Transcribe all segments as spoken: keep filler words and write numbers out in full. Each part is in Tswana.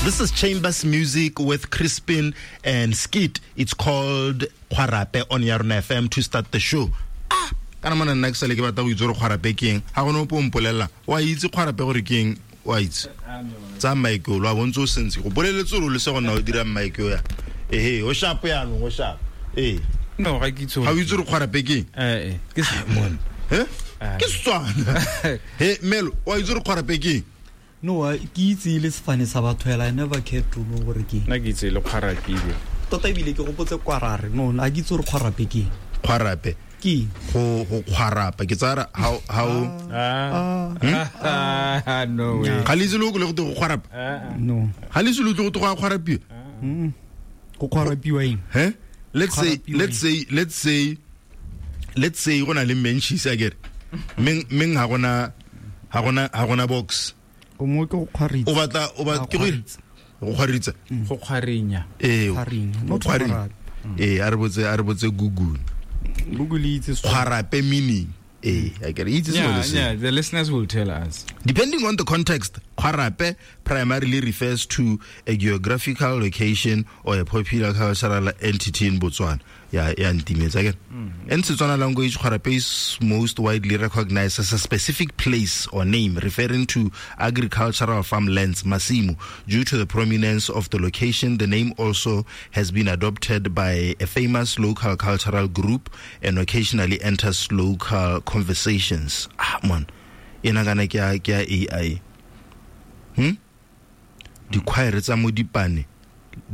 This is Chambers Music with Crispin and Skit. It's called Kgwarape on Yarona F M to start the show. Ah, kana mona nna ke sale ke batla go itse gore kgwarape ke eng. Ga gone ope o mpolelela. Wa itse kgwarape gore ke eng? Wa itse. Tsa mic o lo a bontse o sentse. Go boleletse gore o le se go nna o dira mic o ya. Ehe, o sharp yaanong, o sharp. Ee. No, ga ke itse. Ga o itse gore kgwarape ke eng? Eh eh. Ke se mona. Eh? Ke Setswana. He, Melo, wa itse gore kgwarape ke eng? No, ke itse le sefane sa batho hela, I never cared to know gore ke. Nna ke itse le kgwarapile. Tota ebile ke gopotse kwarare. No, a ke itse gore kgwarape ke. Kgwarape. Ke go go kgwarapa ke tsara how how ah ah no way. Ga le itse le go le go go kgwarapa? No. Ga le itse le go go kgwarapiwa? Mm. Go kgwarapiwa eng? He? Let's say let's say let's say let's say go na le menchis a kere. Meng meng ha gona ha gona ha gona box. O mo ke go kgwaritsa. O batla o batla ke go go kgwaritsa. Go kgwarinya. Ee. Go kgwarinya. Ee, a re botse a re botse Google. Google itse kgwarape meaning. Ee, a kere itse sengwe le sengwe. Yeah, the listeners will tell us. Depending on the context, kgwarape primarily refers to a geographical location or a popular cultural entity in Botswana. Yeah, yeah, ntimetsa again. In Setswana language, kgwarape is most widely recognized as a specific place or name referring to agricultural farmlands, masimu. Due to the prominence of the location, the name also has been adopted by a famous local cultural group and occasionally enters local conversations. Ah, man. Ena kana ke a ke a A I. Hmm? Dikhwaere tsa Modipane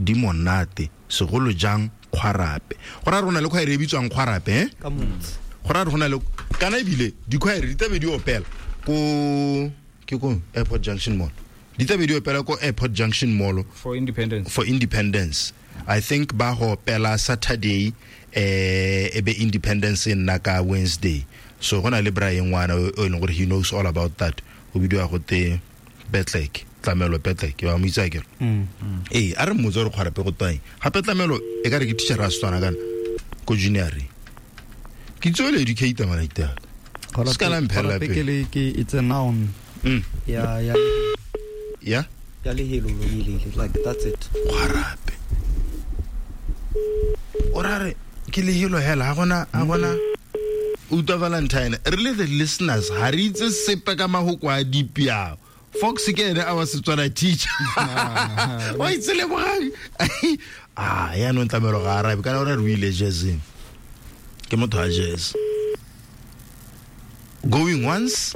di monate, segolo jang kgwarape. Go ra rona le khwaere e bitswang kgwarape, eh? Ka motse. Go ra rona le kana ebile dikhwaere di tabe di opela ko ke ko Airport Junction Mall. Di tabe di opela ko Airport Junction Mall for independence. For independence. I think ba go opela Saturday eh ebe independence nna ka Wednesday. So gona le Brian ngwana o e leng gore he knows all about that. O bidiwa go te Petlek, Tlamelo Petlek, wa mo itse akere. Ee, a re mmotse gore kgwarape go teng. Gape Tlamelo e ka re ke teacher a Setswana kana ko junior. Ke itse o le educator mana ita. Se ka la mphela pele. Ke le ke it's a noun. Mm. Ya ya ya ya le helo lo le like that's it. Kgwarape. O ra re ke le helo hela ha gona ha gona Uta Valentine, re le the listeners ha re itse sepe ka mahoko a dipiao. Fox ke ene our Setswana teacher. Wa itse le bogang. Ah, ya no Tlamelo ga arabe kana ora re o ile jazzing. Ke motho wa jazz. Going once,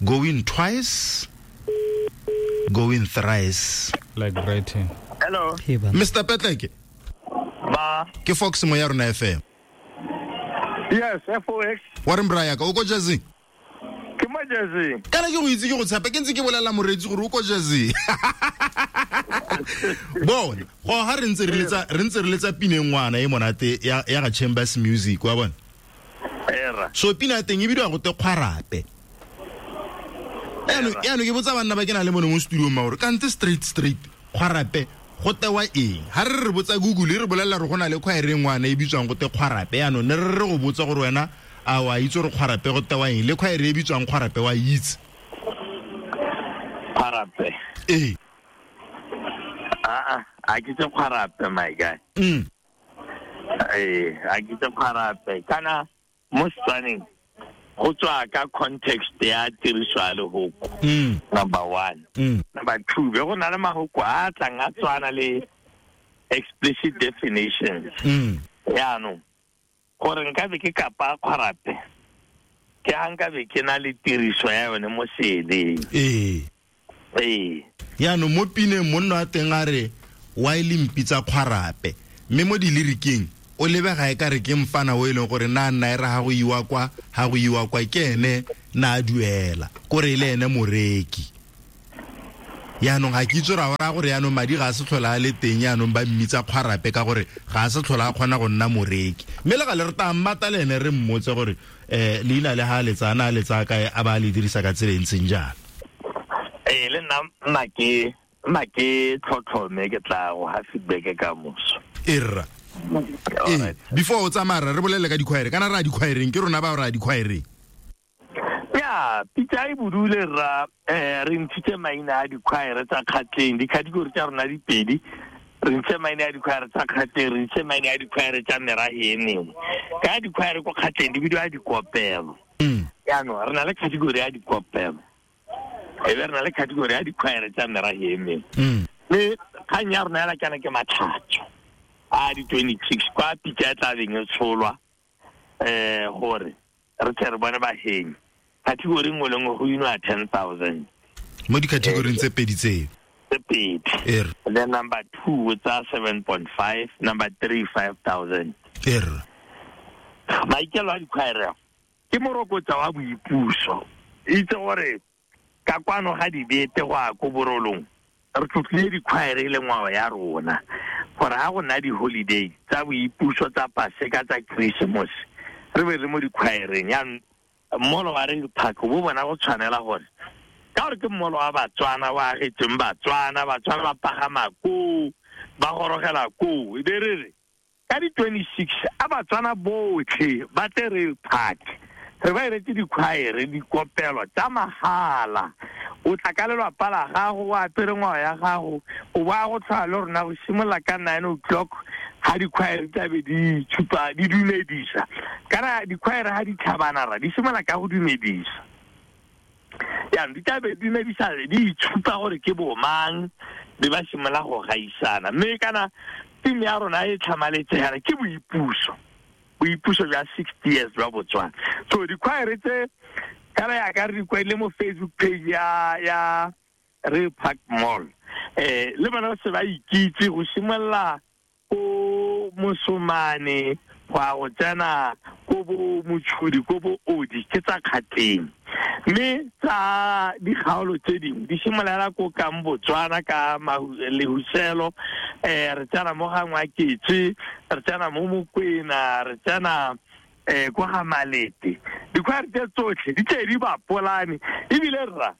going twice, going thrice. Like Brighton. Hello. Hey, Mister Petleke. Ba. Ke Fox mo ya rona F M. Yes, F O X. Wa re mbraya ka o ko jazzing? Ke mo jazzing. Kana ke go itse ke go tshepa ke ntse ke bolela moreetsi gore o ko jazzing. Bona, go ha re ntse re letsa re ntse re letsa pina ngwana e monate ya ya ga Chambers Music wa bona. Era. So pina ya teng e bidiwa go te kgwarape. Yaanong yaanong ke botsa banna ba ke na le mone mo studio ma gore kante straight straight kgwarape go tewa eng? Ha re re botsa Google re bolela re gona le khwaere ngwana e bitswang go te kgwarape. Yaanong ne re re go botsa gore wena a wa itse gore kgwarape go tewa eng le khwaere e bitswang kgwarape wa itse? Kgwarape. Ee. Ah ah, a ke tse kgwarape my guy. Mm. Eh, a ke tse kgwarape. Kana mo Setswaneng go tswa ka context ya tiriso ya lehoko. Mm. Number one. Mm. Number two, be go na le mahoko a tlang a tswana le explicit definitions. Mm. Yaanong gore nka be ke kapa kgwarape ke ha nka be ke na le tiriso ya yone mo seeleng. Ee. Ee. Yaanong mo pineng monna wa teng a re wa e le mpitsa kgwarape mme mo dilirikeng o lebega e ka re ke mfana o e leng gore na nna e re ha go iwa kwa ha go iwa kwa ke ene na a duela kore le ene moreki. Yaanong ga ke itse ra ora gore yaanong madi ga a se tlhola a le teng yaanong ba mmitsa kgwarape ka gore ga a se tlhola a kgona go nna moreki. Mme le ga le re ta mmata le ene re mmotse gore um leina le ha a letsa na a letsa kae a ba a le dirisa ka tsela e ntseng jang. Ee, le nna nna ke nna ke tlhotlhome ke tla go ha feedback ka moso. Erra. Ee, before o tsamaya re bolele ka dikhwaere kana re a dikhwaereng ke rona ba re a dikhwaereng. Yeah, Ya, pitsa e budule ra eh re ntshitse maina a dikhwaere tsa Kgatleng, dikhategori tsa rona di pedi. Re ntse maina a dikhwaere tsa Kgatleng, re ntse maina a dikhwaere tsa merahe e mengwe. Ka dikhwaere ko Kgatleng di bidiwa dikopelo. Jaanong re na le category ya dikopelo, e be re na le category ya dikhwaere tsa merahe e mengwe. Mme kgang ya rona hela kana ke matlhatso a di twenty-six kwa pitsa e tla beng e tsholwa eh gore re tle re bone bahenyi. Category nngwe le nngwe go inwa ten thousand mo di-category tse pedi tseo. Tse pedi. Er. Then number two tsa seven point five, number three five thousand. Er. Maikelo a dikhwaere ke morokotsa wa boipuso. Itse gore ka kwano ga dibete go a ko borolong re tlotlile dikhwaere le ngwao ya rona gore ha go nna di-holiday tsa boipuso tsa Paseka tsa Christmas re be re mo dikhwaereng. Jaanong mmolo wa Rail Park bo bona go tshwanela gore ka gore ke mmolo wa Batswana wa agetseng Batswana, Batswana ba pagama koo, ba gorogela koo, e be re re ka di twenty-six a Batswana botlhe ba tle Rail Park re ba iretse dikhwaere dikopelo tsa mahala. O tla ka lelapa la gago, o apere ngwao ya gago, o ba go tlhola le rona go simolola ka nine o'clock ha dikhwaere tla be di tshupa di dumedisa. Kana dikhwaere ha di tlhabana ra di simolola ka go dumedisa. Jaanong di tla be di dumedisa di itshupa gore ke bo mang, be ba simolola go gaisana. Mme kana team ya rona e tlhamaletse yana ke boipuso, boipuso jwa sixty years jwa Botswana. So dikhwaere tse kana ya ka re di kwaile mo Facebook page ya ya Rail Park Mall, eh le bona se ba ikitse go simolola ko Mosomane go a go tsena ko bo Motshodi ko bo Odi ke tsa Kgatleng. Mme tsa dikgaolo tse dingwe di simolola ko kang Botswana ka Lehuselo, eh re tsena mo ga Ngwaketse, re tsena mo Mokwena, re tsena eh kwa ga Malete. Dikhwaere tse tsotlhe di tle di bapolane ebile rra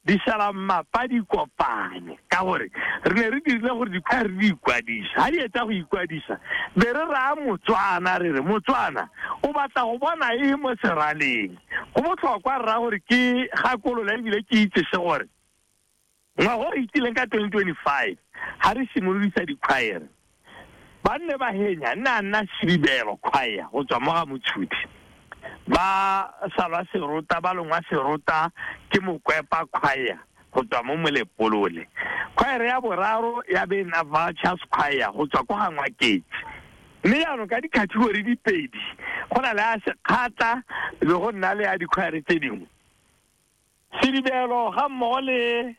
di sala mmapa di kopane ka gore re ne re dirile gore dikhwaere di ikwadisa. Ha di etsa go ikwadisa be re raya Motswana re re Motswana o batla go bona eng mo seraleng. Go botlhokwa rra gore ke gakolola ebile ke itse se gore ngwaga o itileng ka twenty twenty-five ha re simolodisa dikhwaere ba nne ba henya nna nna Sedibelo choir go tswa mo ga Motshodi, ba salwa serota ba longwa serota ke Mokwepa choir go tswa mo Molepolole. Choir ya boraro ya be nna Vultures choir go tswa ko ga Ngwaketse. Mme jaanong ka di-category di pedi go na le ya Sekgatla le go nna le ya dikhwaere tse dingwe. Sedibelo ga mmogo le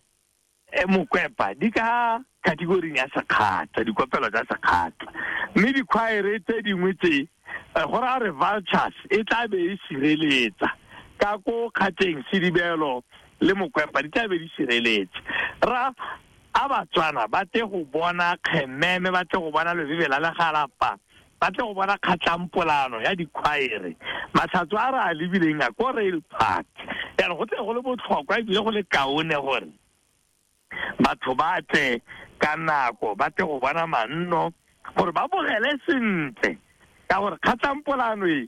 Mokwepa di ka category ya Sekgatla, dikopelo tsa Sekgatla. Mme dikhwaere tse dingwe tse go raya re Vultures e tla be e sireletsa ka ko Kgatleng, Sedibelo le Mokwepa di tla be di sireletse. Ra a Batswana ba tle go bona kgememe, ba tle go bona lobebe la legalapa, ba tle go bona kgatlampolano ya dikhwaere. Matlhatso a re a lebileng a ko Rail Park. Jaanong go tle go le botlhokwa ebile go le kaone gore batho ba tle ka nako, ba tle go bona manno gore ba bogele sentle ka gore kgatlampolano e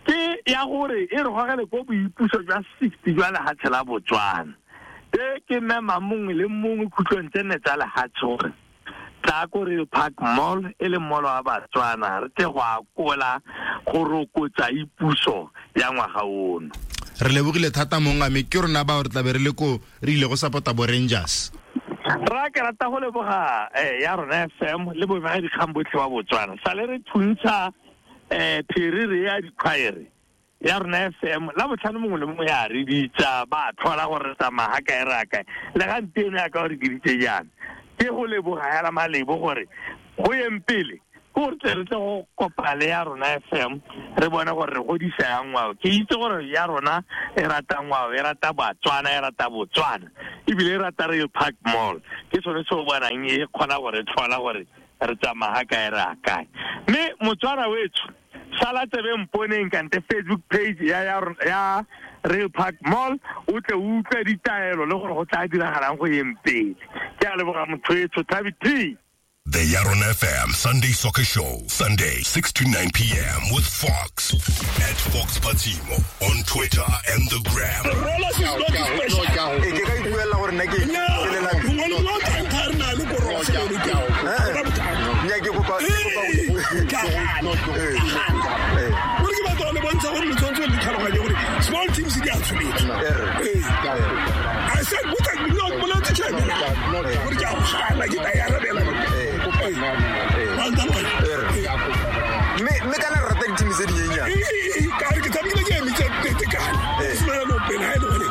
ke ya gore e re gogele ko boipuso jwa sixty jwa lehatshe la Botswana. E ke mema mongwe le mongwe khutlong tse nne tsa lehatshe gore tla ko Rail Park Mall e le mall wa Batswana re tle go akola go rokotsa ipuso ya ngwaga ono. Re lebogile thata mongame, ke rona ba re tla be re le ko re ile go support-a bo Rangers. Ra ke rata go leboga eh ya rona F M le bobega dikgang botlhe ba Botswana. Sale re thuntsha eh pherere ya dikhwaere ya rona F M la botlhano mongwe le mongwe ya re bitsa ba tlhola gore re tsamaya ga kae re kae le gampieno ya ka gore ke ditse jaana. Ke go leboga hela malebo gore go yeng pele ko re tle re tle go kopana le ya rona F M re bone gore re godisa ya ngwao. Ke itse gore ya rona e rata ngwao, e rata Batswana, e rata Botswana ebile e rata Rail Park Mall. Ke sone se o bonang e kgona gore tlhola gore re tsamaya ga kae re a kae. Mme Motswana wetsho sala tsebe mponeng kante Facebook page ya ya ya Rail Park Mall o tle o utlwe ditaelo le gore go tla diragalang go yeng pele. Ke a leboga motho etsho, Thabi T. The Yaron F M Sunday Soccer Show, Sunday, six to nine p m with Fox. At Fox Patimo on Twitter and the Gram. Small teams in the I said, what I me kana rata di team tse di nyenyane. Ka re ke tshamekile ke emitse tekane. Sena no pena e le gore.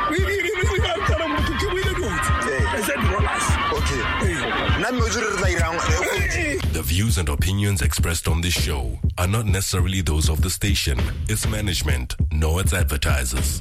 Re re re re re tsana motho ke buile dotse. I said rollers. Okay. Nna mme o tsere re tla irang. The views and opinions expressed on this show are not necessarily those of the station, its management, nor its advertisers.